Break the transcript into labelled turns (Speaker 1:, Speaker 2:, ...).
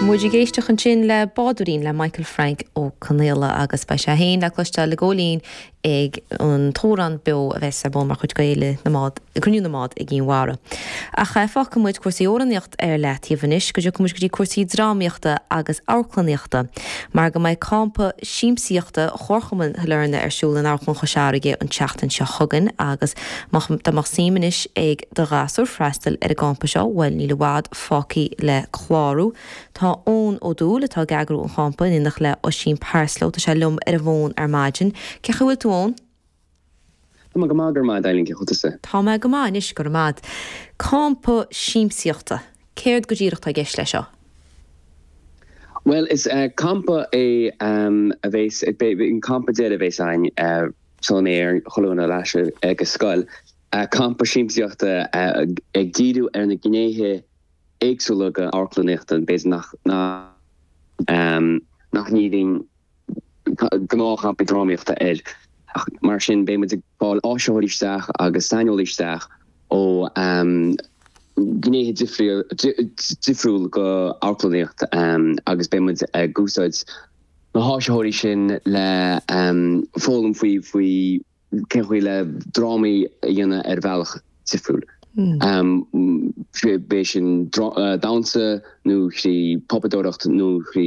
Speaker 1: Muid ag éisteacht ansin le Bádóirín le Michael Frank Ó Conaola agus beidh sé féin le cloisteáil i gCóilín ag an tAmhrán Beo a bheas ar bun mar chuid de Fhéile na mBád, Cruinniú na mBád i gCinn Mhara. Ach fágfaidh muid cúrsaí amhránaíocht ar leataobh anois go dtiocfaidh muid go dtí cúrsaí drámaíochta agus amharclannaíochta mar go mbeidh campa siamsaíochta Chomharchumann Shailearna ar siúl in Amharclann Chois Fharraige an tseachtain seo chugainn agus má dá mbeadh suim anois ag do ghasúr freastal ar an gcampa seo, bhuel níl i bhfad fágtha le clárú. Tá Eoin Ó Dúill, atá ag eagrú an champa, in éineacht le Oisín Parslow, tá sé liom ar an bhfón ar maidin. Cén chaoi a bhfuil tú, Eoin?
Speaker 2: Tá mé go maith, go raibh maith agat, Eileen, cén chaoi a bhfuil tusa?
Speaker 1: Tá mé go maith anois, go raibh maith agat. Campa siamsaíochta, céard go díreach atá i gceist leis seo?
Speaker 2: Bhuel, is campa é a bheas, an campa deiridh a bheas againn sula mbeidh ar chuile dhuine ar ais ag an scoil. Campa siamsaíochta ag díriú ar na gnéithe éagsúla de amharclannaíocht, b'fhéidir nach nach ndíríonn gnáthchampaí drámaíochta air. Ach mar sin beidh muid ag fáil áisitheoirí isteach agus saineolaí isteach ó ghnéithe difriúil de amharclannaíocht agus beidh muid ag úsáid na háisitheoirí sin le foghlaim faoi faoi cén chaoi le drámaí a dhéanamh ar bhealach difriúil. Bíodh sin damhsa nó trí phuipéadóireacht nó trí.